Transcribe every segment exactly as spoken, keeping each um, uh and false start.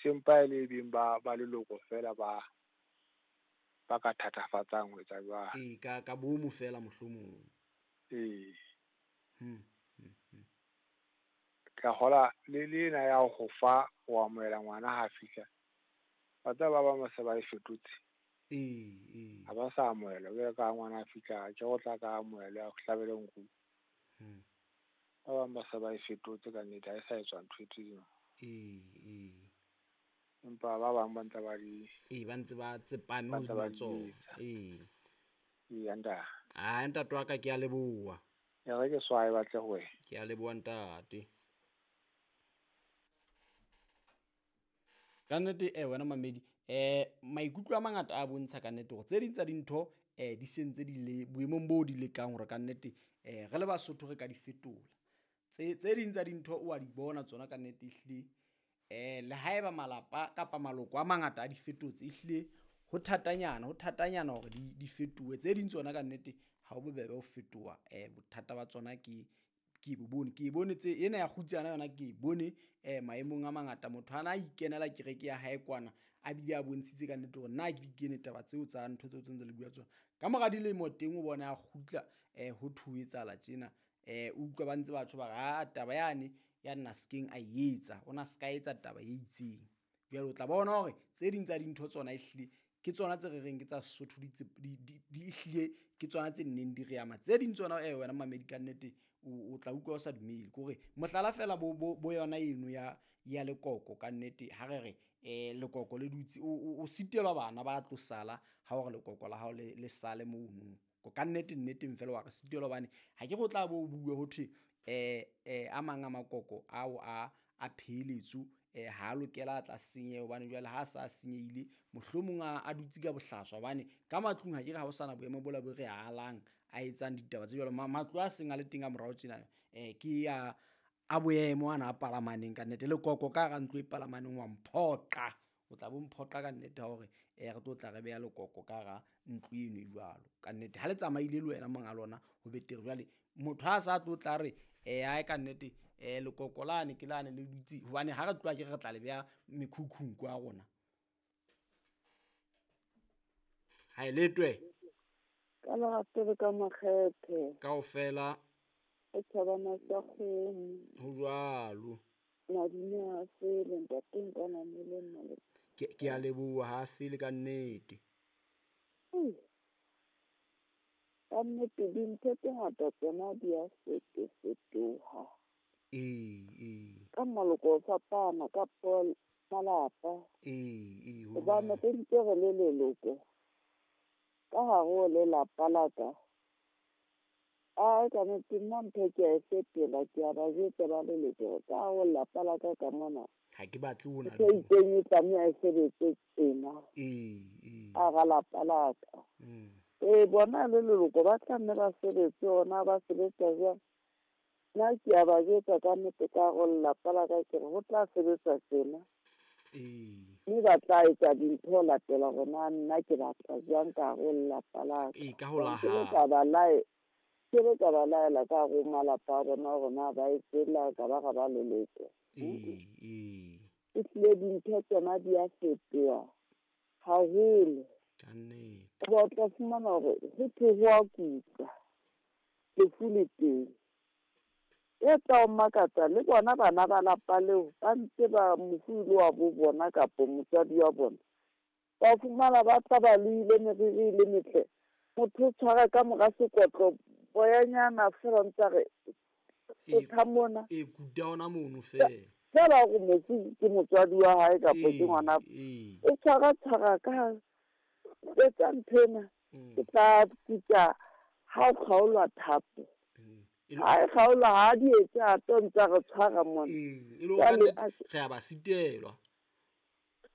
Sempa e le beng ba ba leloko fela ba ba ka thatafatsang ho etsa jwalo. Ee, ka ka boomo fela mohlomong. Ee. Hmm. Hmm. hmm. Ka hola le le ena ya ho fa ho amohela ngwana ha fihla. Ba tseba ba bang ba se ba e fetotse. Ee, ee. Ha ba sa amohela jwalo ka ha ngwana a fihla ke go tla ka amohela a hlabele nku. Hmm. Ba bang ba se ba e fetotse ka nnete ha e sa etswa ntho e tseo. Ee, ee. Empa ba bang ba ntse ba di Ee, ba ntse ba tsepame Ba ntse hodima ba di tsona. etsa. Ee. Eya ntate. Ah, ntate wa ka ke a leboha. E re ke swae batle ho wena. Ke a leboha ntate. Ka nnete eh wena mamedi eh maikutlo a mangata a bontsha ka nnete hore tse ding tsa dintho eh di sentse di le boemong bo di lekang hore ka nnete eh re le Basotho re ka di fetola. Tse tse ding tsa dintho o a di bona tsona ka nnete ehlile eh le haeba malapa kapa maloko a mangata a di fetotse ehlile ho thatanyana ho thatanyana hore di di fetohe. Tse ding tsona ka nnete ha ho bobebe ho fetoha eh bothata ba tsona ke ke bo bone ke bone tse ena ya kgutsana yona ke bone eh maemong a mangata motho ana a ikenela kereke ya hae kwana a bile a bontshitse ka nnete hore nna ke di kene taba tseo tsa ntho tseo tse ntse le bua tsona. Ka mora dilemo teng o bona a kgutla eh ho thwe ho etsahala tjena eh o utlwa ba ntse batho ba re ah taba yane ya nna sekeng a e etsa ona se ka etsa taba e itseng. Jwale o tla bona hore tse ding tsa dintho tsona ehlile ke tsona tse re reng ke tsa Sesotho di di di di ehlile ke tsona tse nneng di re ama. Tse ding tsona eh wena mamedi ka nnete o tla utlwa o sa dumele. Ke hore mohlala fela bo bo bo yona eno ya ya lekoko ka nnete ha re re eh lekoko le dutse o o sitelwa bana ba tlo sala ha hore lekoko la hao le le sale mono. Ka nnete nneteng fela wa re sitelwa hobane ha ke re o tla bo bue ho thwe eh eh a mang a makoko ao a a pheletso eh ha lokela a tla senyeha hobane jwale ha sa senyehile mohlomong a a dutse ka bohlaswa hobane ka matlung ha ke re ha ho sana boemo bola bo re alang a etsang ditaba tse jwalo. Matlo a seng a le teng a morao tjena eh ke ya a boemo ana a palamaneng ka nnete. Lekoko ka hara ntlo e palamaneng wa mphoqa. O tla bo mphoqa ka nnete hore eh re tlo tla re beha lekoko ka hara ntlo eno e jwalo. Ka nnete ha le tsamaile le wena monga lona ho betere. Jwale motho ha sa tlo tla re eh ae ka nnete eh lekoko lane ke lane le dutse hobane ha re tloha ke re tla le beha mekhukhung kwa rona. Ha e letwe. Ka lerato le ka makgethe. Kaofela. E thabana sa kgomo. Ho jwalo. Madume a fele ntate nka namele nna le. Ke ke a leboha ha fele ka nnete. Ka nnete dintho tse ngata tsona di a fetofetoha. Ee, ee. Ka maloko ho fapana ka malapa. Ee, ee. Hobane re ntse re le leloko. Ka hare ho lelapa la ka. Ai ka nnete nna ntho ke a e fetola ke a ba jwetsa ba leloko ka hare ho lelapa la ka ka mona. Ha ke batle ho na. Ntho e itseng e tlameha e sebetse tjena. Ee, ee. Hara lapa la ka. Mm. Ee, bona le leloko ba tla nne ba sebetse hona ba sebetsa jwang. Nna ke a ba jwetsa ka nnete ka hare ho lelapa la ka ke re ho tla sebetsa tjena. Ee. Mme ba tla etsa dintho ho latela hore na nna ke batla jwang ka hare ho lelapa la ka. Ee, ka ho la Ke hao. ka ba lae ke be ka ba laela ka hare ho malapa a bona hore na ba etsela ka ba ra ba leloko. Ee, ee. Ehlile dintho tsona di a fetoha haholo. Ka nnete. Hoba o tla fumana hore ho thwe ho a kutlwa lefu le teng. E tla o makatsa le bona bana ba lapa leo ba ntse ba mofu le wa bo bona kapa motswadi wa bona. Ba fumana ba tla ba loile meriri le metle. Motho o tshwara ka mora sekotlo boyanyana fela ntse a re E tha mona. E kuta ona mono fela. Fela hore mofu ke motswadi wa hae kapa ke ngwana. Ee. O tshwara tshwara ka etsa nthwena. Mm. Ke tla kuta ha o kgaolwa thapo. Mm. Ha e kgaolwa ha di etse a tlo ntse re tshwara mona. Ee, e le hore re a ba sitelwa.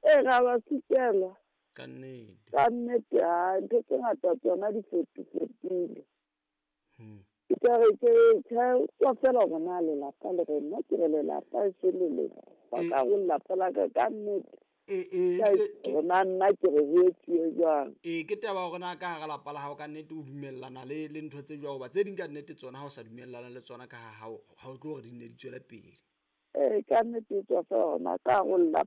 Ee, re a ba sitelwa. Ka nnete. Ka nnete ha ntho tse ngata tsona di fetofetile. Hmm. Ke tla re ke tjhe tswa fela hore na lelapa le re nna ke re lelapa e se leloko. Ba ka ho lelapa la ka ka nnete. Ee, ee, Ke hore na nna ke re ho etsuwe jwang. Ee, ke taba hore na ka hara lapa la hao ka nnete o dumellana le le ntho tse jwang hoba tse ding ka nnete tsona ha o sa dumellana le tsona ka ha hao ha o tlo hore di nne di tswele pele. Ee, ka nnete e tswa fela hore na ka hare ho lelapa